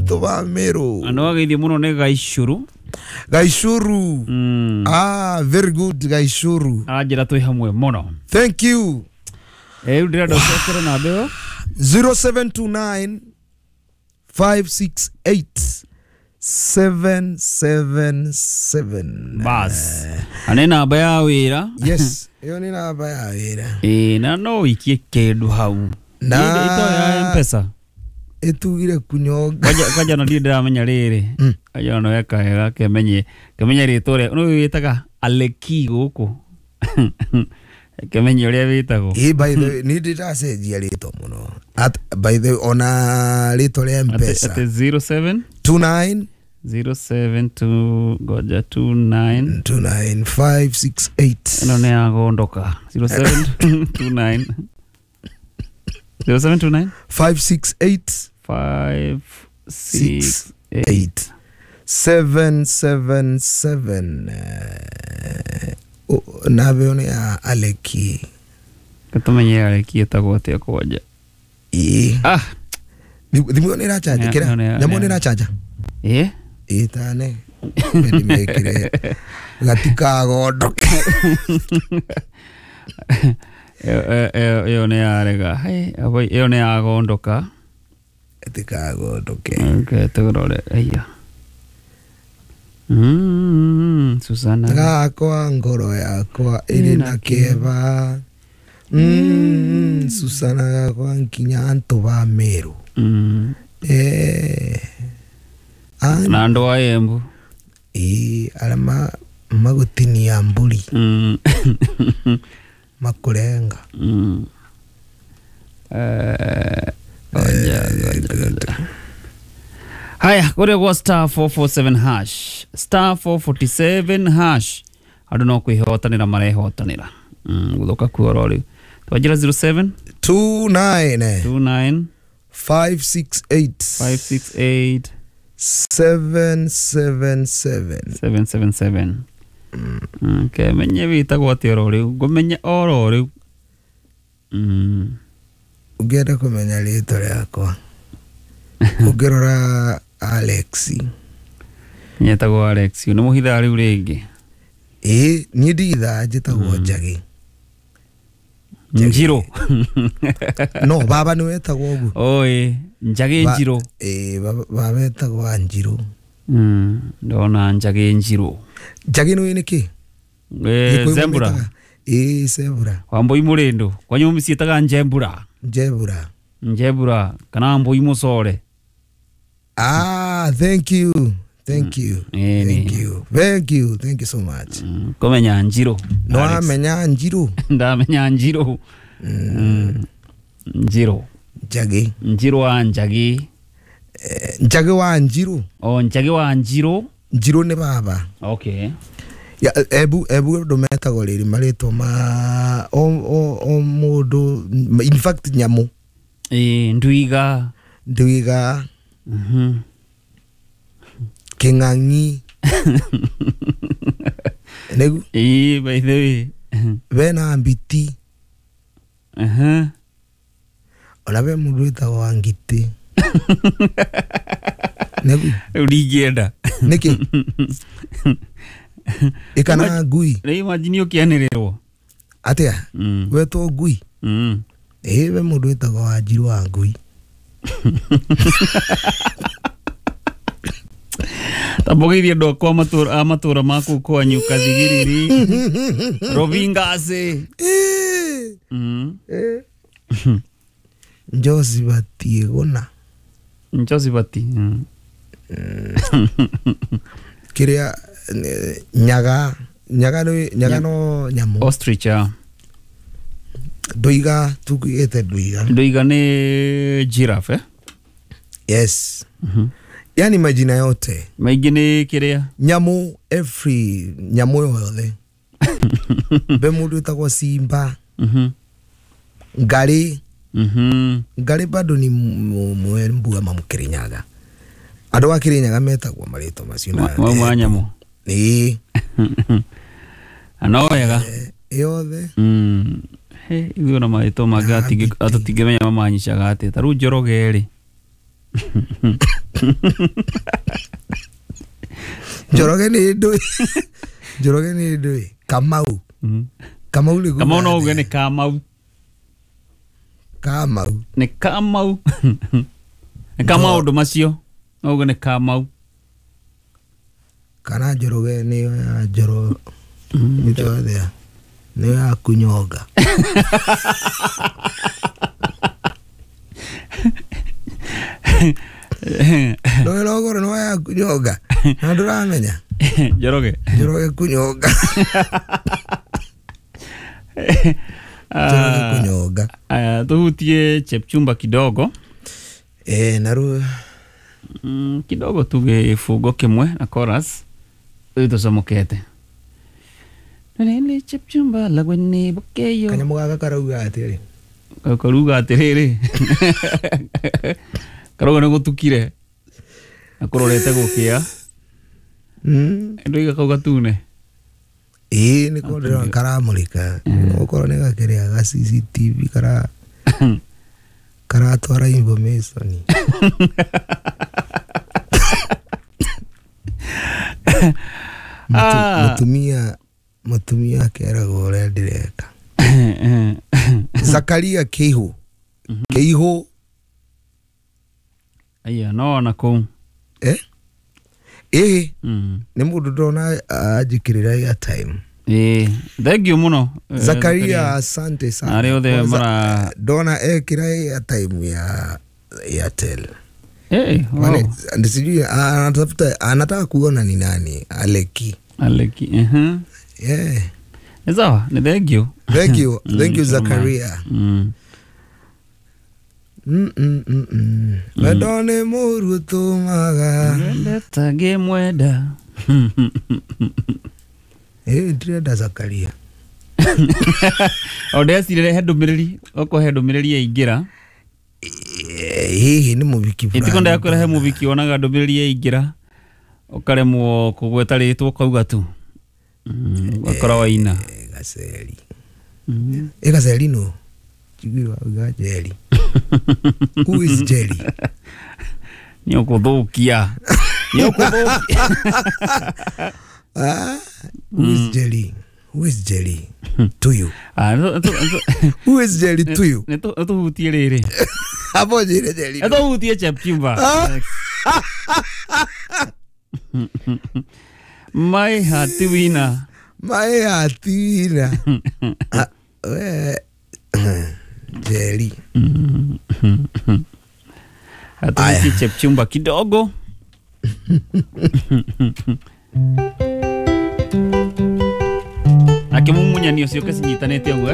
Antu ba Meru. Andå ageithio må no nä Gaicuru. Gaicuru. Ah, very good Gaicuru. Aranjä ra twä hamwe må no. Thank you. Rä u ndä renda å cokere namba ä yo. 0729 568 777. Bas na nä namba ya wä ra. Yes, ĩyo nĩ namba ya wĩra. Ä na no wä ikie kä ndå hau. Na- Ito ya Mpesa. Ĩtugire kunyonga. Kwanja na ndirä ndäramenya rä rä kwanja no weka wega kemenye kemenye rä twa rä no wä taga Aleki gå kå kemenye å rä a wä tagwo. Ĩ, by the way, nĩ ndĩ ndacenjia rĩtwa mũno. By the way, ona rĩtwa rĩa Mpesa. Atä 07 29 072 ngoja 29. 29568. Ĩno nĩ yagondoka 0729 0729. 568. 5 6 8. 8 777. Namba ĩyo nĩ ya Aleki. Gätåmenye Aleki ĩtagwo atĩa kwanja. Ĩ. Ah. Thimũ ĩyo nĩ ĩrachanja kĩra nyamũ nĩ ĩrachanja. Ĩ. Ĩ tane ndĩmĩkĩre gatikagondoke. Ĩyo nĩ yarega. Hai, ĩyo nĩ yagondoka. Gatikagondoke. Okay, tũrore aya. Susana. Gakwa ngoro yakwa ĩrĩ na kĩeva. Susana gakwa nginya antũ ba Meru. Eh. Na andũ a Embu. Ĩ, arĩa magũtinia mbũri. Makũrenga. Ngoja, ngoja, ngoja. Haya, kũrĩa gwa star 447 hash, star 447 hash, andũ no kwĩhotanĩra marehotanĩra. Gũthũka kuo rĩu twanjĩra 07 29. 29. 568. 568. 777. 777. Okay, menye wĩtagwo atĩa oro rĩu ngũmenye oro rĩu. Ũngĩenda kũmenya rĩtwa rĩakwa ũngĩrora Alex. Nyetagwo Alex nĩ mũhithaa rĩu rĩngĩ. Ĩ, niĩ ndigithaa njĩtagwo Njagĩ. Njirũ. No baba nĩ wetagwo ũguo. Oi, Njagĩ Njirũ. Ĩ, baba etagwo Anjirũ. Ndona Njagĩ Njirũ. Njagĩ nĩ nĩ kĩ? Zembura. Ĩ, zebra. Wambui mũrĩndũ kwanyu mĩciĩtaga njembura. Njebura. Njebura kana Wambui mũcore. Ah, thank you. Thank you. Ĩni. Thank you. Thank you. Thank you so much. Kũmenya Njirũ. No Alex. amenya Njirũ. Ndamenya Njirũ. Njirũ. Njagĩ. Njirũ wa Njagĩ. Njagĩ wa Njirũ. O Njagĩ wa Njirũ. Njirũ nĩ baba. Okay. Ya, ebu ebu andũ metagwo rĩrĩ marĩtwa ma o mũndũ, in fact nyamũ. Ĩ, ndwiga. Ndwiga. Kĩng'ang'i. Nĩgu. Ĩ, by the way. Bena mbiti. Ona be mũndũ wĩtagwo wa ngitĩ. Nĩgu. Rĩu ndingĩenda. Nĩkĩ? Ĩkana ngui. Rĩu imagine ũkĩanĩrĩrwo. Atĩa? Wetwo ngui. Ĩ, be mũndũ wĩtagwo wa Njirũ wa ngui. Tambũgeithie andũ akwa a matũra ma kũu kwanyu Kathigiriri, Rovingaci. Njoci batiĩ gũna. Njoci bati. Kĩrĩa nyaga nyaga nĩ nyaga no nyamũ. Ostrich. Ndũiga tugĩte ndũiga. Ndũiga nĩ giraffe, eh? Yes. Yani majina yote. Maingĩ nĩ kĩrĩa? Nyamũ, every nyamũ yothe. Be mũndũ wĩtagwo simba. Ngarĩ. Ngarĩ bado ni mwembua ma Mũkĩrĩnyaga. Andũ a Kĩrĩnyaga metagwo marĩtwa macio na Mau ma nyamũ. Ĩĩ. No wega. Yothe. He, ithuĩ ona marĩtwa mangĩ tũtingĩmenya mamanyicaga atĩa. Ta rĩu Njoroge rĩ. Njoroge nĩ ndũĩ. Njoroge nĩ ndũĩ. Kamau. Kamau nĩ Kamau no uge nĩ Kamau. Kamau. Nĩ Kamau. Nĩ ka maũndũ macio. No uge nĩ Kamau. Kana Njoroge nĩ ya Njoro. Nĩ nĩ ya kunyonga. No rogoro no ya kunyonga. Na ndũramenya. Njoroge. Njoroge kunyonga. Njoroge kunyonga. Tuhutie Chepchumba kidogo. Naru kidogo tu gĩbungo kĩmwe na chorus rĩu tũcomokete. Nĩ Chepchumba lagweni bokeyo. Kanyamũ gaka karauga atĩrĩ. Karuga atĩrĩrĩ. Karauga nĩ gũtukire. Na kũrorete gũkĩa. Ndoiga kau gatune. Ĩĩ nĩ ko ndĩrona karamũrĩka. Okorwo nĩ gakĩrĩa ga CCTV karatwara information. Mũtumia akeragwo ũrĩa ndĩreka. Zakaria Keihu. Keihu. Aya no na kũu. Ĩĩ. Nĩ mũndũ ndona anjĩkĩrĩra airtime. Thank you mũno. Zakaria asante sana. Arĩa othe mara ndona ekĩra airtime ya Airtel. Wow. Sijui anatafuta anataka kuona ni nani Aleki. Aleki. Yeah. Ni sawa, ni thank you. Thank you. Thank you Zakaria. Wendo nĩ mũru ũtũmaga. Wendete ngĩmwenda. Ndĩrenda Zakaria. O ndecirire he ndũmĩrĩri, okorwo he ndũmĩrĩri yaingĩra. Hihi nĩ mũbiki fulani. Ĩtiko ndakwĩra he mũbiki wonaga ndũmĩrĩri yaingĩra ũkaremwo kũgweta rĩtwa ũkauga tu. Ũgakora waina. Gaceri. Gaceri no. Njiguire wauga Jerry. Who is Jerry? Nĩ ũkũthũkia. Nĩ ũkũthũkia. Who is Jerry? Who is Jerry to you? Who is Jerry to you? Nĩ tũhutie rĩrĩ. Hapo njĩre Jerry. Nĩ tũhutie Chepchumba. My heart winner. My heart winner. Jerry. Atuhutie Chepchumba kidogo. Akĩmumunyani ũcio kĩcinyitanĩte ũguo.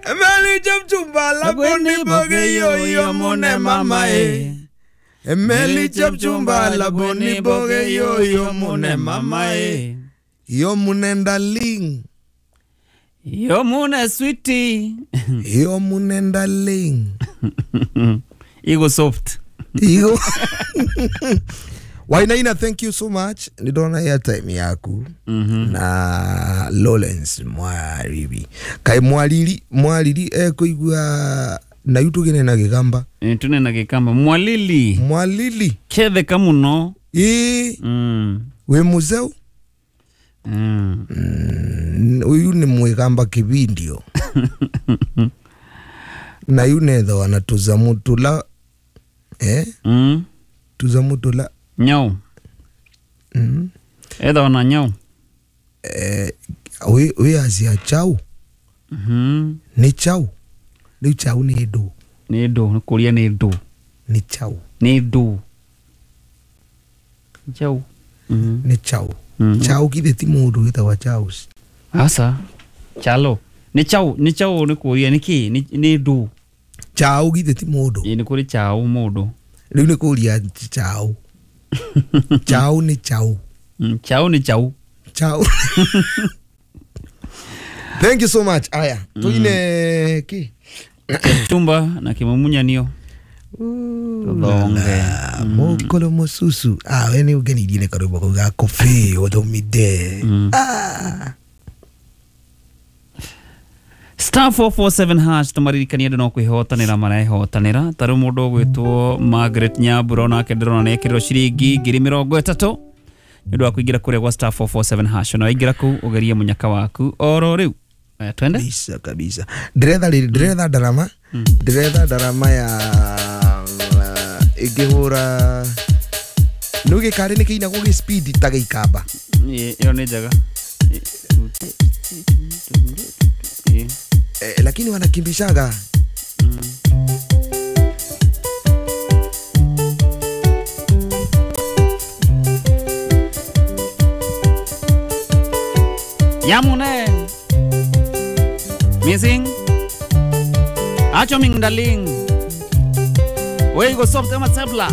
Emeli Chepchumba laboni boge yo mune mama e. Emeli Chepchumba laboni boge yo mune mama e. Yo mune darling. Yo mune sweetie. Yo mune darling. Ego soft. Ego. Wainaina, thank you so much. Nidona airtime yaku. Na Lawrence Mwariri. Kai Mwariri, Mwariri kuigua na yutugene na gikamba. Tune na gikamba. Mwalili. Mwalili. Kethe kamuno. We muzeu. Uyu ni mwikamba kibindio. Na yunetho anatuzamutula. Tuzamutula. Nyau. Etha ona nyau. We azia chau. Ni chau. Ni chau ni ndu. Ni ndu, ni kuria ni ndu. Ni chau. Ni ndu. Chau. Ni chau. Chau kithe ti mundu witagwo chau. Asa. Chalo. Ni chau, ni chau ni kuria ni ki, ni ndu. Chau kithe ti mundu. Ni kuri chau mundu. Riu ni kuria chau. Chau ni chau. Chau ni chau. Chau. Thank you so much. Aya, tuine ki Chumba na kimumunya Tuthonge. Mukolo mususu. We ni ugenirie ne karwimbo kau ga coffee uthomide. Star 447 hash tũmaririkanie andũ no kwĩhotanĩra marehotanĩra. Ta rĩu mũndũ ũgwĩtwo Margaret Nyambura onake ndĩrona nĩekĩrĩrwo ciringi 30,000 nĩ ũndũ wa kũingĩra kũrĩa gwa star 447 hash. Na waingĩra kũu ũgerie mũnyaka waku oro rĩu. Aya, twende. Kabisa kabisa. Ndiretha rĩrĩ, ndiretha ndarama, ndiretha ndarama ya ĩngĩhũra nĩ gĩkarĩ nĩ kĩinagwo gĩ speed ta gĩikamba. Ĩyo nĩ njega. Ĩ. Lakini wanakimbishaga. Yamune. Missing. Acho ming daling. We go soft ama tabla.